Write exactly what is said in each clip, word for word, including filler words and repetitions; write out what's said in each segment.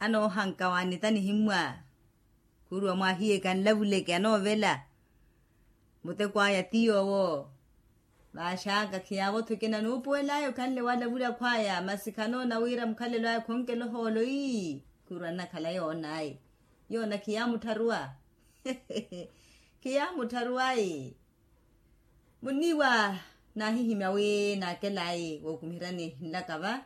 Anoohanka waanita nihimmwa. Khuruwa mwahiye kanlavuleke anoovela. Muteko aya ti yoowo. Vaaxaka khiyaavo-tho ekina nuupuwel'aya okhanle walavula akhw'aya masi khanoona wira mukhalelo aya khonkela ohoolo ii. Khuruwa nnakhala yoon'aya. Yoona khiyaamuttharuwa. Khiyaamuttharuwa-i. Munniiwa naahihimya wi naakelayi wookumiheryani nlaka va.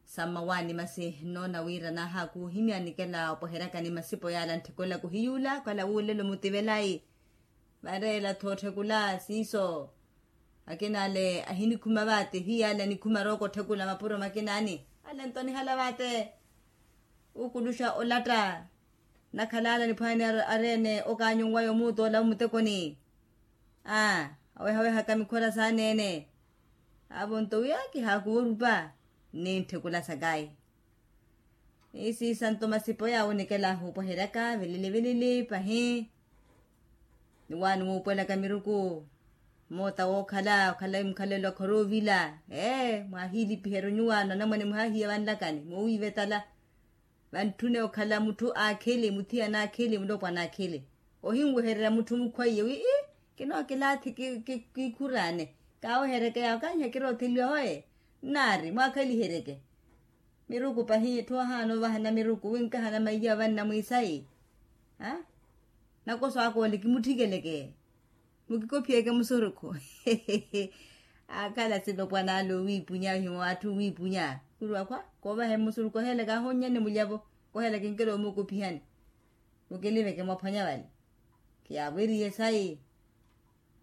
Sammawaani masi nnoona wira naahaakuuhimya nikela opweheryakani masipo yaala ntthekula kuhiyuula okhala wuulelo mutivelayi. Vareela-tho otthekula siiso. Akinaale ahinikhuma vaate hiyale anikhuma rooko otthekula mapuro makinaani. Ale nto nihala vaate. Ukuluxa olatta. Nakhala ale niphwaani areene okaanyunwaya omuutola omutekoni. Aa awehawehaka mikhora saaneene. Avo nto wiya kihaakuwa orupa. Nni ntthekula sakayi. Isiisa nto masipo yaawo nikela ahupweheryaka vilili vilili pahi. Ni waani wuupwelaka miruku. Moota wookhala okhala mukhalelo akhora oovila. Ee mwaahilipiherya onyuwaano anamwane muhaahiya vanlakani moowiivetala. Vantthune okhala mutthu aakhili muthiyana aakhili mulopwana aakhili. Ohinwehererya mutthu mukhwaiye wi ii kinookilaathi kiikhuraane. Kaaweheryeke yaawo kaahiya kirootheliwa hoye. Nnaari mwaakhaliheryeke. Miruku pahi etthu ahaana ovahana miruku wi nkahana maiya vanna mwiisayi. Nakoso aka ole kimuttikeleke. Mukikophiyeke musurukhu. Akhala silopwana ale owiipunya ohimwa atthu owiipunya khuruwa khwa. Koovahe musurukhu oheelaka ahonnyane mulyavo. Koheelaka enkelo omukophihani. Mukiliveke mwaphwanya vale. Khiyaavweriye sayi.